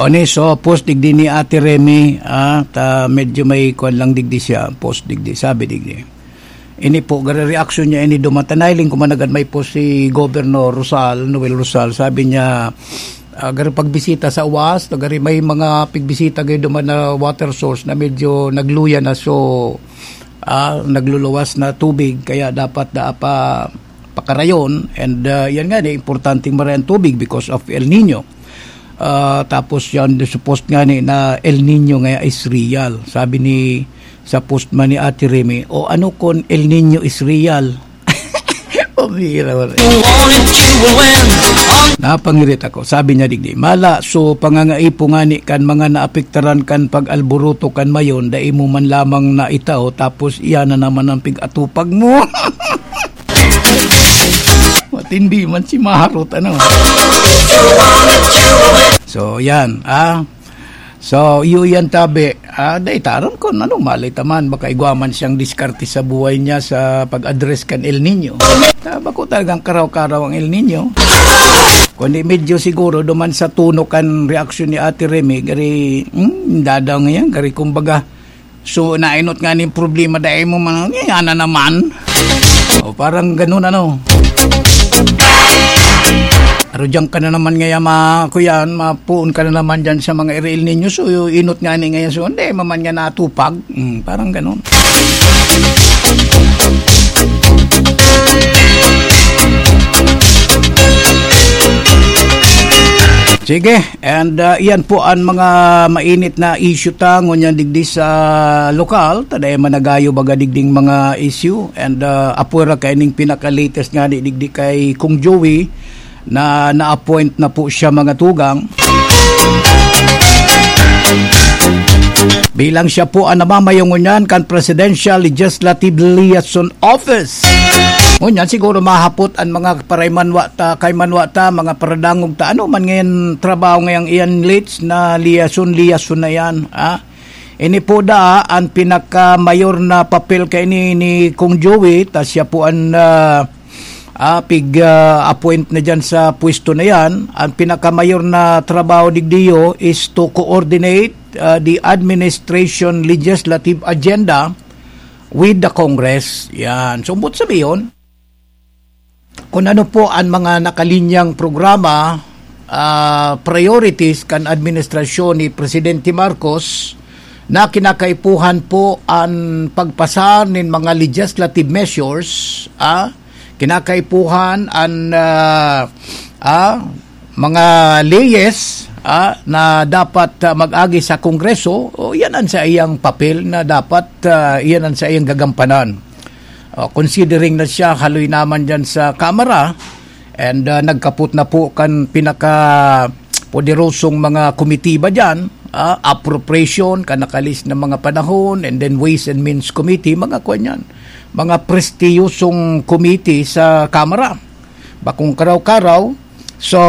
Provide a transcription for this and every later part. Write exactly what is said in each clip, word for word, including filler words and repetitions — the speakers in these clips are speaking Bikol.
Oni, so, post digdi ni Ate Remy, ah, ta medyo may kuwan lang digdi siya, post digdi, sabi digdi. Ini po, garo reaksyon niya ini duman ta nahiling ko man nanggad may post si Governor Rosal, Noel Rosal, sabi niya, ah, garo pagbisita sa UAS, ta garo may mga pigbisita garo duman na water source na medyo nagluya na, so, ah, nagluluwas na tubig, kaya dapat daa pa pakarayon, and, ah, yan nga, di, importanteng maray ang tubig because of El Nino. Ah, tapos yan, sa post nga ni, na El Nino nga is real. Sabi ni, sa post man ni Ate Remy, "O ano kung El Nino is real?" Pabira, wala. Napangirit ako. Sabi niya digdi, "Mala, so pangangaipo nga ni kan mga naapektaran kan pag-alboroto kan Mayon, dai mo man lamang naitao, tapos iyan na naman ang pig-atupag mo." Matindi man si Maharot, ano? So, yan, ah. So, iyo yan, tabi. Ah, dai taram kun ano, malay ta man, baka igwa man siyang diskarte sa buhay niya sa pag-address kan El Nino. Ah, bako talagang karaw-karaw ang El Nino. Kundi medyo siguro duman sa tono kan reaksyon ni Ate Remy, gari, hmm, dadaw ngayon, gari kumbaga, so, nainot nga ning problema, dai mo man, "Yan na naman." O, parang ganun, ano. Pero diyan ka na naman ngayon, ma-, kuyan, mapuon ka na naman diyan sa mga El Nino. So, inot nga ni ngayon, so, hindi, maman nga natupag. Mm, parang ganun. Sige, and, ah, iyan po ang mga mainit na issue ta ngunyan digdi sa lokal. Ta dai man nagayo baga digding mga issue. And, ah, apwera kaining pinaka-latest nga di digdi kay Kong Joey na na-appoint na po siya, mga tugang. Bilang siya po ang namamayo ngunyan kan Presidential Legislative Liaison Office. Ngunyan, siguro mahapot ang mga paraymanwa ta, kaymanwa ta, mga paradangog ta, ano man ngayon trabaho ngayang iyan, leads na liason, liason na yan, ah. Ini po daa ang pinakamayor na papel kaini ni Kong Joey, ta siya po ang, ah, ah, pig, ah, appoint na diyan sa pwesto na yan. Ang pinakamayor na trabaho digdiyo is to coordinate, ah, the administration legislative agenda with the Congress. Yan. So, umbot sabiyon, kung ano po ang mga nakalinyang programa, ah, priorities kan administrasyon ni Presidente Marcos na kinakaipuhan po ang pagpasa nin mga legislative measures, ah, kinakaipuhan ang, ah, ah, mga leyes, ah, na dapat, ah, mag-agi sa Kongreso, o, yan ang sa iyang papel na dapat, ah, yan ang sa iyang gagampanan. O, considering na siya haloy naman dyan sa Kamara, and, ah, nagkapot na po kan pinaka poderosong mga komitiba dyan, ah, appropriation, kan nakalis na mga panahon, and then Ways and Means Committee, mga kwan yan. Mga prestiyosong committee sa Kamara. Bakong karaw-karaw. So,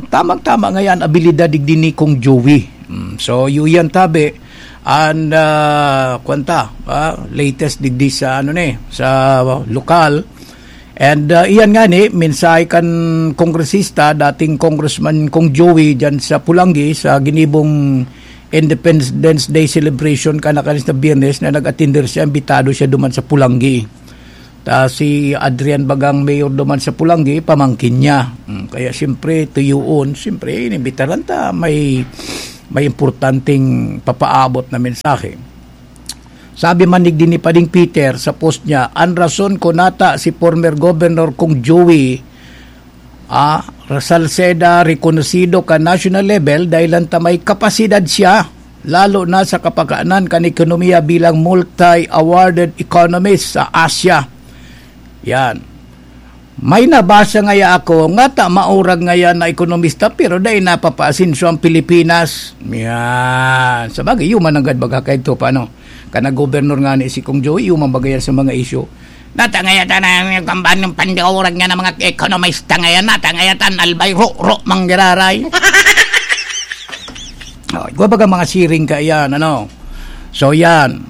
tamang-tama nga yan, abilidad digdi ni Kong Joey. Mm, so, yu yan tabi. And, ah, kwanta, ah, latest digdi sa, ano ni, sa lokal. And, ah, iyan nga ni, mensahe kan kongresista, dating Congressman Kong Joey, dyan sa Pulanggi, sa ginibong Independence Day celebration, kan nakalis na Biyernes, na nag-attender siya, imbitado siya duman sa Pulanggi. Ta si Adrian bagang mayor duman sa Pulanggi, pamangkin niya. Mm, kaya siyempre, tuyoon, siyempre, inimbitaran ta, may, may importanteng papaabot na mensahe. Sabi man ni Dini Pading Peter sa post niya, ang rason ko nata si former Governor Kong Joey, ah, Salceda, rekonosido ka national level dahil lang ta may kapasidad siya, lalo na sa kapakanan kan ekonomiya bilang multi-awarded economist sa Asia. Yan. May nabasa ngaya ako, nga ta maurag ngaya na ekonomista, pero dai napapaasenso ang Pilipinas. Yan. Sa bagay, human nanggad baga kay to, paano? Kana gobernador nga ni si Kong Joey, human bagay yan sa mga isyu. Nata ngaya ta na yung kamban ng pandaurag nga na mga ekonomista ngayon. Nata ngaya ta, albay, ro, ro, manggiraray. Oh, ikaw baga mga siring ka yan, ano? So, yan.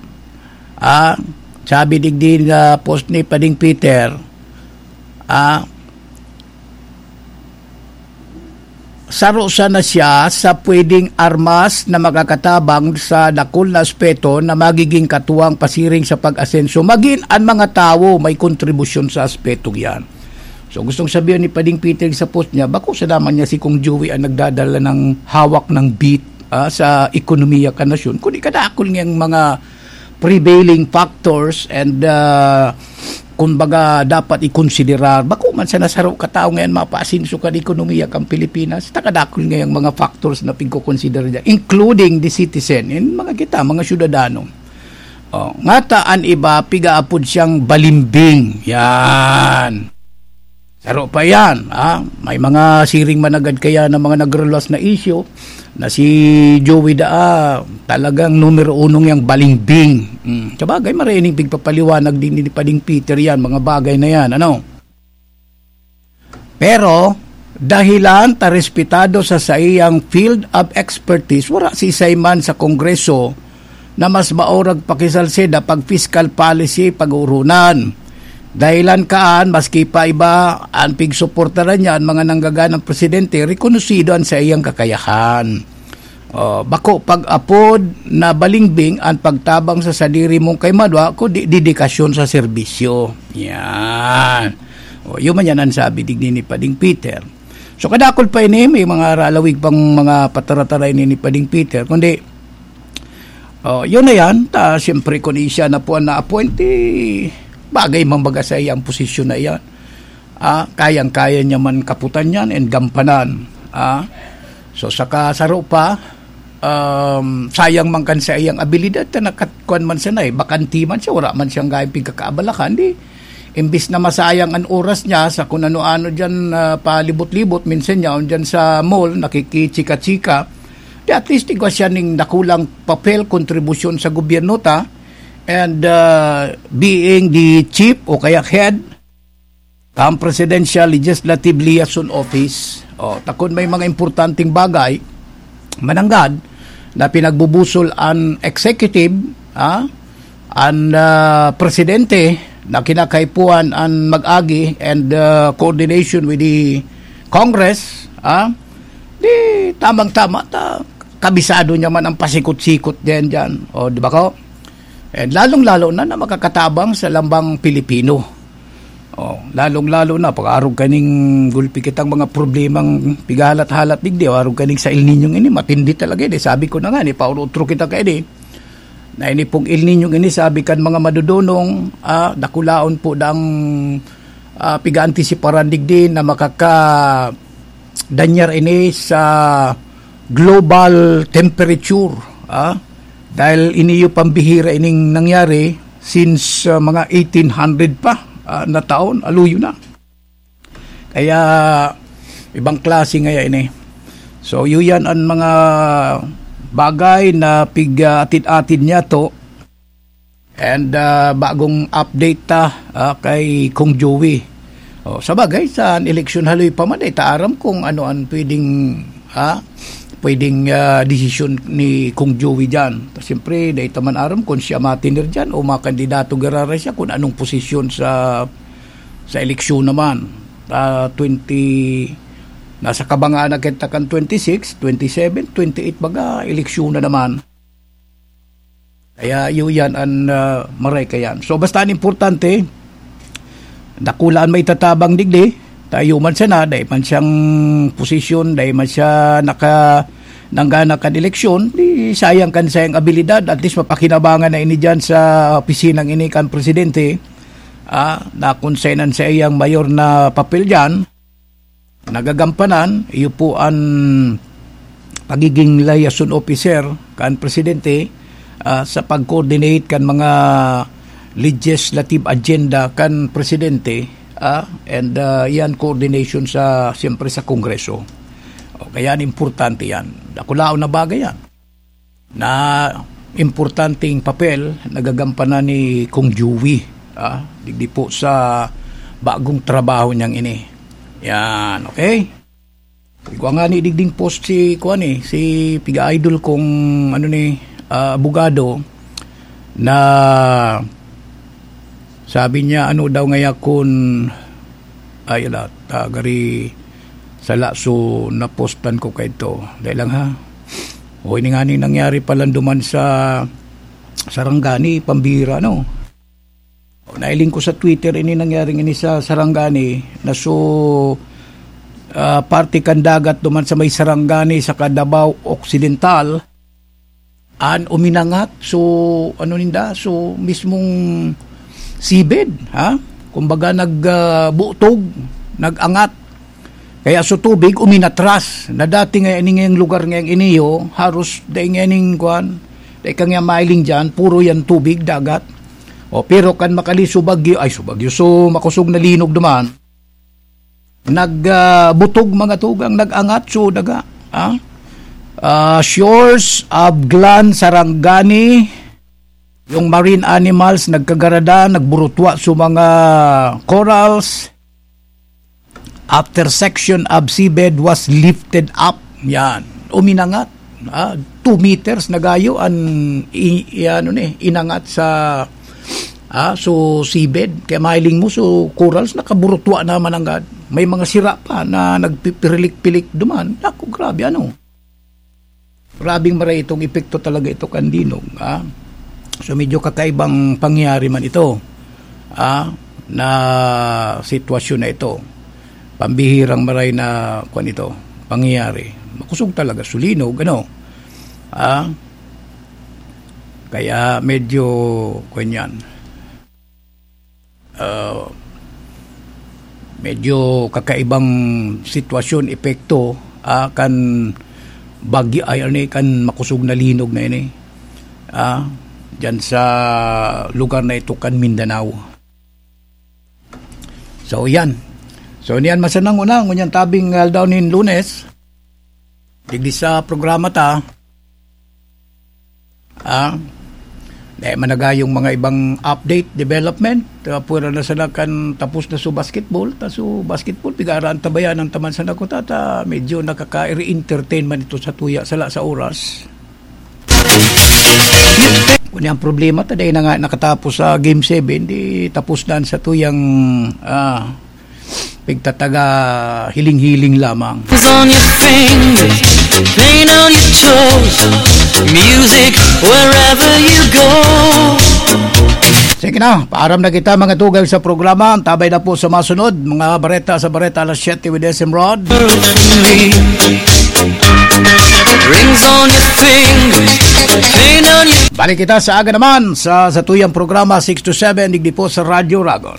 Ah, sabi digdi na post ni Pading Peter, ah, Saro sana siya sa pwedeng armas na makakatabang sa dakul na aspeto na magiging katuwang pasiring sa pag-asenso. Magin an mga tawo may kontribusyon sa aspetong yan. So, gustong sabihin ni Pading Peter sa post niya, bako sa naman niya si Kong Joey ang nagdadala ng hawak ng beat, ah, sa ekonomiya kan nasyon, kundi kadakul niyang mga prevailing factors and, ah, kumbaga, dapat ikonsiderar. Bako man sa nasaro ka tao ngayon, mapaasenso kan ekonomiya kan Pilipinas. Takadakul ngayang mga factors na pigkokonsidera niya, including the citizen, and mga kita, mga syudadano. Oh, ngata an iba, pigaapod siyang balimbing. Yan. Saro pa yan, ha? May mga siring managad kaya na mga nagreluwas na isyu na si Joey Daa talagang numero uno yang balimbing. Mm. Sabagay, maraining pigpapaliwanag din ni Pading Peter yan, mga bagay na yan, ano? Pero, dahilan ta respetado sa saiyang field of expertise, wala si man sa Kongreso na mas maurag pakisalseda pag fiscal policy pag-uurunan. Dahilan kaan, maski pa iba, an pigsuportaran niya an mga nanggaganang presidente, rekonosido an saiyang kakayahan. Oh, bako pag-apod na balingbing an pagtabang sa sadiri mong kaimadwa, kundi dedikasyon sa serbisyo. Yan. Oh, yun man yan ang sabi digdi ni Pading Peter. So, kadakol pa ini, may mga ralawig pang mga pataratara ini ni Pading Peter, kundi, oh, yun na yan. Ta, siyempre, kung siya na po ang na-appoint, eh, bagay man baga sa iyang posisyon na yan. Ah, kayang-kaya niya man kaputan yan and gampanan. Ah, so, saka saro pa, um, sayang man kan sa iyang abilidad, ta nakatkuan man siya na eh, bakanti man siya, wala man siyang gayong pigkakaabalakan, di, imbis na masayang an oras niya sa kung ano-ano dyan, ah, palibot-libot, minsan niya, dyan sa mall, nakikichika-chika, di at least igwa siya ning dakulang papel, kontribusyon sa gobyerno ta, and, ah, being the chief o kaya head kan Presidential Legislative Liaison Office. O, takon may mga importanteng bagay, mananggad, na pinagbubusol an executive, ah, an, ah, presidente na kinakaipuhan an mag-agi and, ah, coordination with the Congress, ah, di tamang-tama ta, kabisado niya man ang pasikot-sikot din dyan. O, di ba ko? And lalong-lalo na na makakatabang sa lambang Pilipino. Oh, lalong-lalo na pag-arog kaning gulpi kitang mga problemang pigahalat-halat digdi, o arog kaning sa El Niño ini, matindi talaga ini. Sabi ko na nga, ni paurutro kita kaini, na ini pong El Niño ini, sabi kan mga madudunong, ah, dakulaon po dang, ah, pigaantisiparan digdi na makaka danyar ini sa global temperature, ah, dahil iniyo pambihira ining nangyari since, ah, mga eighteen hundred pa, ah, na taon, aluyo na. Kaya, ibang klase ngaya ini. So, yun yan ang mga bagay na pig-atid-atid niya to. And, ah, bagong update ta, ah, kay Kong Joey. Oh, sa bagay, sa eleksyon haloy pa man, eh, ta aram kung ano ang pwedeng, ah, pwedeng, ah, desisyon ni Kong Joey dyan. Ta, siyempre, dahil ta man aram kung siya matinir dyan o makandidato garara siya kung anong posisyon sa, sa eleksyon naman. Ah, twenty, nasa kabangaan na kita kan twenty-six, twenty-seven, twenty-eight baga, eleksyon na naman. Kaya iyo yan an, ah, maray kayan. So, basta an importante, dakula an maitatabang digdi, ta iyo man sana, dai man siyang posisyon, dai man siya naka-, nanggana kan eleksyon, di sayang kan sayang abilidad, at least mapakinabangan na ini diyan sa opisinang ini kan presidente, ah, na kung saan an saiyang mayor na papel diyan. Nagagampanan, iyo po an pagiging liaison officer kan presidente, ah, sa pag-coordinate kan mga legislative agenda kan presidente, ah, and, ah, yan coordination sa, siyempre, sa Kongreso. O, kaya importante yan. Dakulaon na bagay yan. Na importanteng papel nagagampanan ni Kong Joey, ah, digdi po sa bagong trabaho niyang ini. Yan, okay? Igwa nga ni digding post si, kuwan eh, si piga-idol kong, ano ni, ah, abogado na sabi niya, ano daw ngaya kun, ay, ala, ta, gari, Sala, so napostan ko kaito. Dai lang, ha. O, ini nga ni nangyari pala duman sa Sarangani, pambira, no? O, nailing ko sa Twitter, ini nangyari ini sa Sarangani, na so, ah, parte kan dagat duman sa may Sarangani sa Davao Occidental. An uminangat, so, ano ninda, so, mismong seabed, ha? Kumbaga, nag, ah, butog, nag-angat. Kaya so tubig, uminatras. Na dati nga ini ngayong lugar ngayong iniyo, haros dai nga ning, kuwan, dai ka nga mailing dyan, puro yan tubig, dagat. O, pero kan makali so bagyo, ay, so bagyo, so makusog na linog duman. Nag, ah, butog mga tugang, nag-angat so daga, ah. Ah, shores of Glan Sarangani, yung marine animals nagkagarada, nagburutwa so mga corals. After section of seabed was lifted up, yan, uminangat. Ah, two meters na gayo an i-, i-, ano ni, inangat sa, ah, so seabed. Kaya mahiling mo, so corals, nakaburutwa naman ang gad. May mga sira pa na nagpipirilik-pilik duman. Naku, grabe, ano. Grabeng maray itong epekto talaga ito kan linog, ah. So, medyo kakaibang pangyayari man ito, ah, na sitwasyon na ito. Pambihirang maray na, kwan ito, pangyayari. Makusog talaga so linog, ano? Ah, kaya medyo, kwan yan. Ah, medyo kakaibang sitwasyon, epekto, ah, kan bagyo, ay, ano, kan makusog na linog na ini, ah, dyan sa lugar na ito kan Mindanao. So, yan. So, niyan masanang una, ngunyan tabing aldaw nin Lunes, digdi sa programa ta, ah, dai man nagayong mga ibang update, development. Ah, pwera na sana kan tapos na so basketball. Ta so basketball, pigaraan tabayan ang taman sa nakuta, ta medyo nakaka-entertain man ito sa tuya, sala sa oras. Kung ang problema, ta dai na nga nakatapos sa Game seven, di tapos na sa tuyang, ah, pigtataga hiling-hiling lamang. Is on your fingers, paint on your toes, music wherever you go. Sige na, paaram na kita, mga tugang, sa programa. Antabay na po sa masunod, mga bareta sa Bareta alas siyete with S M Rod. Rings on your fingers, paint on your Balik kita sa aga naman sa, sa tuyang programa, six to seven, digdi po sa Radyo Ragon.